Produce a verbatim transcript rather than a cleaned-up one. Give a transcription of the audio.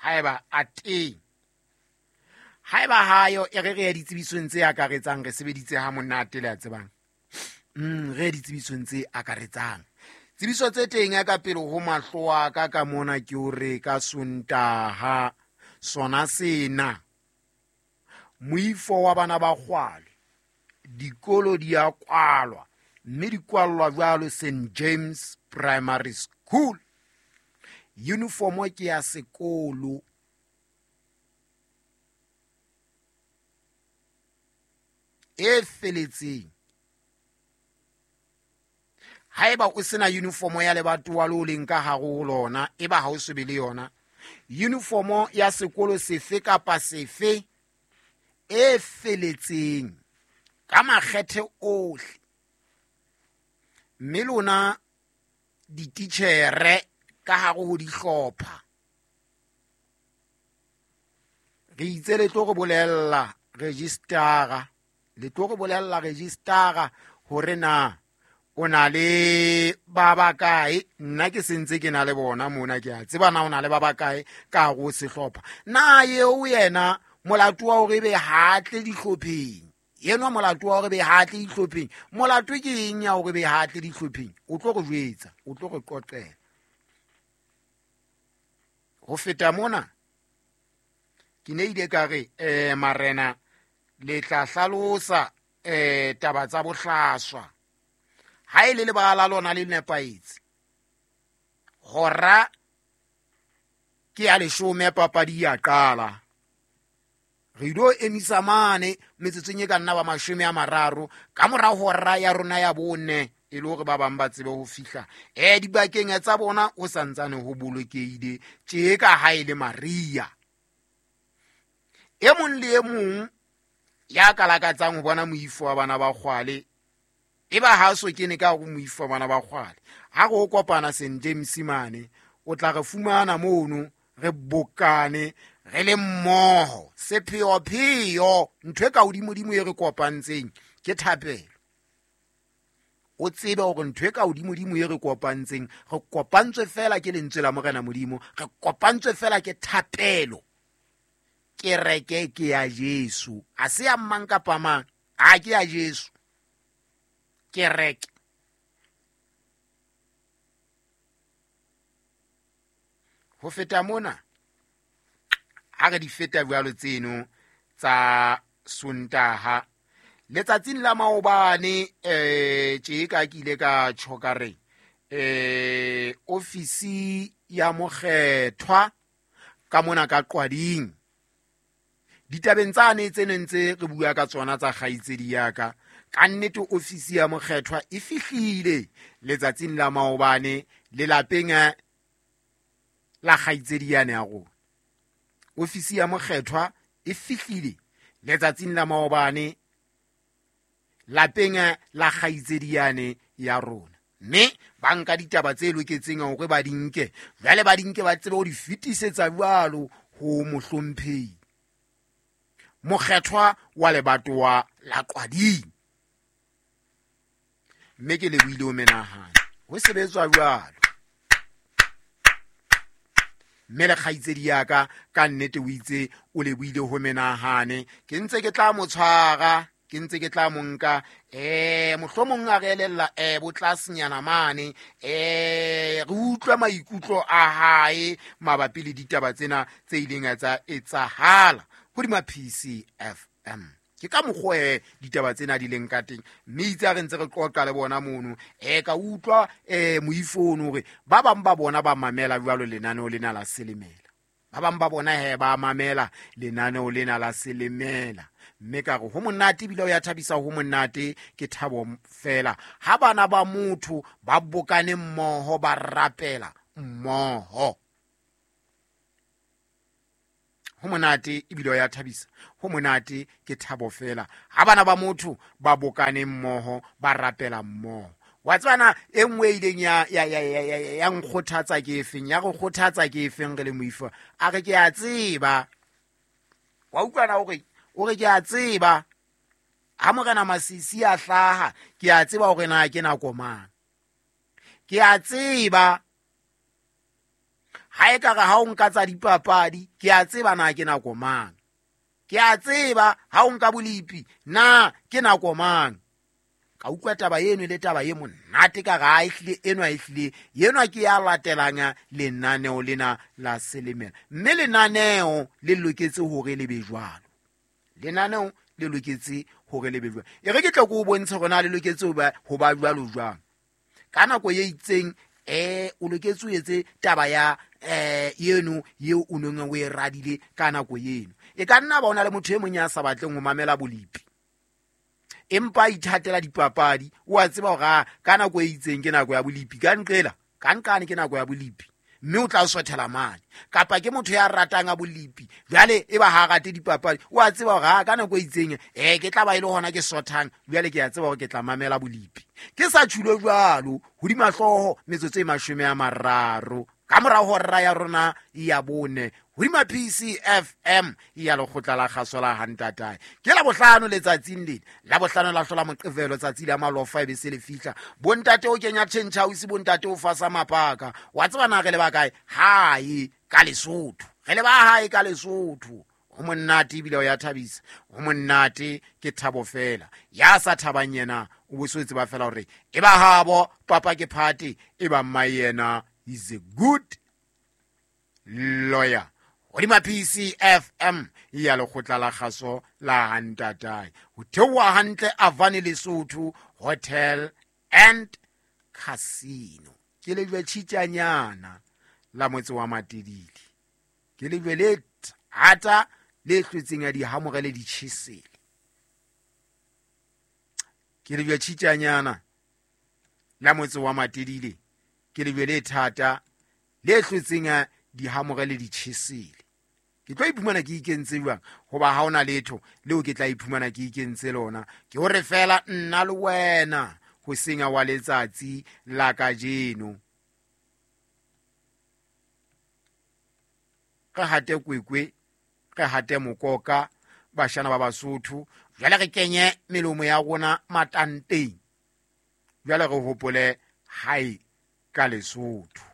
Haeba a teng, haeba hayo e re re ya ditsebisong tse akaretsang, re sebeditse ha monate le a tsebang. Mm, re ditsebisong tse akaretsang. Tsebiso tse teng ya ka pele ho mahlo a ka ka mona ke hore ka Sontaha sona sena moifo wa bana ba kgwale dikolo di a kwalwa, mme di kwallwa jwalo Saint James Primary School. Uniform ke ya sekolo. E feletseng. Haeba o sena uniform ya lebatowa le o leng ka hare ho lona, eba ha o so be le yona, uniform ya sekolo sefe kapa sefe e feletseng ka makgethe ohle. Mme lona dititjhere ka hare ho dihlopha, re itse le tlo re bolella registara, le tlo re bolella registara hore na o na le ba bakae. Nna ke sentse ke na le bona mona, ke a tseba na o na le ba bakae ka hare ho sehlopha. Na eo yena molato wa hore ebe ha tle dihlopheng, yenwa molato wa hore ebe ha tle dihlopheng, molato ke eng ya hore ebe ha tle dihlopheng? O tlo re jwetsa, o tlo re qoqela. Ho feta mona ke ne ile ka re eh marena le tla hlalosa eh taba tsa bohlaswa. Ha e le lebala la lona le nepahetse, hora ke ya leshome papadi ya qala. Re ilo emisa mane metsotsong e ka nna ba mashome a mararo ka mora hora ya rona ya bone, e le hore ba bang ba tsebe ho fihla eh dibakeng tsa bona ho santsane ho bolokehile tje ka ha e le Maria. E mong le e mong ya ka lakatsang ho bona moifo wa bana ba kgwale, eba ha so kene ka hore moifo wa bana ba kgwale, ha re o kopana Saint James mane, o tla re fumana mono re bokane re le mmoho. Sepheopheo ntho e ka hodimodimo e re kopantseng ke thapelo. O tsebe hore ntho e ka hodimodimo e re kopantseng, re kopantswe fela ke lentswe la Morena Modimo, re kopantswe fela ke thapelo. Kereke ke ya Jesu, ha se ya mang kapa mang, ha ke ya Jesu. Kereke. Ho feta mona, ha re di feta jwalo tseno tsa Sontaha, letsatsing la maobane eh tje ka ke ile ka tjho ka re eh ofisi ya mokgethwa ka mona ka Qwading, ditabeng tsane tse neng tse re bua ka tsona tsa kgaitsedi ya ka, ka nnete ofisi ya mokgethwa e fihlile letsatsing la maobane lelapeng la kgaitsedi yane ya rona. Ofisi ya mokgethwa e fihlile letsatsing la maobane lapeng la kgaitsedi yane ya rona, mme ba nka ditaba tse loketseng hore ba di nke, jwale ba di nke ba tsebe ho di fetisetsa jwalo ho mohlomphehi mokgethwa wa lebatowa la Qwading. Mme ke lebohile ho menahano, ho sebetswa jwalo. Mme le kgaitsedi ya ka ka nnete o itse o lebohile ho menahane, ke ntse ke tla mo tshwara, ke ntse ke tla mo nka eh mohlomong a re elella eh botlasenyana mane, eh re utlwe maikutlo a hae mabapi le ditaba tsena tse ileng tsa etsahala hodima P C F M. Ke ka mokgwa e ditaba tsena di leng ka teng, mme itse ha re ntse re qoqa le bona mono, eh ka utlwa eh moifono hore ba bang ba bona ba mamela jwalo lenaneo lena la Selemela, ba bang ba bona he ba mamela lenaneo lena la Selemela. Mme ka re ho monate ebile o ya thabisa, ho monate ke thabo fela ha bana ba motho ba bokane mmoho ba rapela mmoho. Ho monate ebile o ya thabisa, ho monate ke thabo fela ha bana ba motho ba bokane mmoho ba rapela mmoho. Wa tsebana e nngwe e ileng ya ya ya ya ya nkgothatsa ke efeng, ya re kgothatsa ke efeng re le moifo, a re ke a tseba, wa utlwana hore o re ke a tseba ha Morena Masisi a hlaha, ke a tseba hore na ke nako mang, ke a tseba Ha e ka re ha o nka tsa dipapadi, ke a tseba na ke nako mang. Ke a tseba ha o nka bolipi na ke nako mang. Ka utlwa taba eno le taba e monate ka re ha ehlile enwa ehlile enwa ke ya latelang lenaneo lena la Selemela. Mme lenaneo le loketse hore le be jwalo. Lenaneo le loketse hore le be jwalo. E re ke tla ko o bontshe hore na le loketse ho ba ho ba jwalo jwang. Ka nako e itseng eh o loketse o etse taba ya eh eno eo o neng o e radile ka nako eno. E ka nna ba ona le motho e mong ya sa batleng ho mamela bolipi, empa ithatela dipapadi. O a tseba hore ka nako e itseng ke nako ya bolipi, ka nqela ka nqane ke nako ya bolipi, mme o tla sothela mane. Kapa ke motho ya ratang a bolipi, jwale e ba ha rate dipapadi, o a tseba hore ka nako e itseng eh ke tla ba ile hona ke sothang, jwale ke a tseba hore ke tla mamela bolipi. Ke sa tjhulo jwalo hodima hlooho metsotso e mashome a mararo ka mora hora ya rona ya bone hodima P C F M ya lekgotla la kgaso la Hantatae. Ke la bohlano letsatsing lena, la bohlano la hlola Moqebelo, tsatsi la malofa e be se le fihla. Bontate o kenya change house, bontate o fasa mapaka. Wa tseba na re le ba kae? Hae ka Lesotho. Re le ba hae ka Lesotho. Ho monate ebile o ya thabisa. Ho monate ke thabo fela. Ya sa thabang yena o bo so tseba fela hore e ba habo papa ke phate, e ba mma yena is a good lawyer. Hodima P C F M ya lekgotla la kgaso la Hantatae. Ho theoha hantle Avani Lesotho Hotel and Casino. Ke lejwe tjhitjanyana la motse wa Matedile. Ke lejwe le thata le hlwetseng ya dihamore le ditjhesele. Ke lejwe tjhitjanyana la motse wa Matedile. Ke lejwe le thata le hlwetseng ya dihamore le ditjhesele. Ke tlo iphumana ke ikentse jwang? Hoba ha hona letho leo ke tla iphumana ke ikentse lona. Ke hore fela nna le wena ho senya wa letsatsi la kajeno. Re hate kwekwe, re hate mokoka, bashana ba Basotho. Jwale re kenye melomo ya rona matanteng. Jwale re hopole hae ka Lesotho.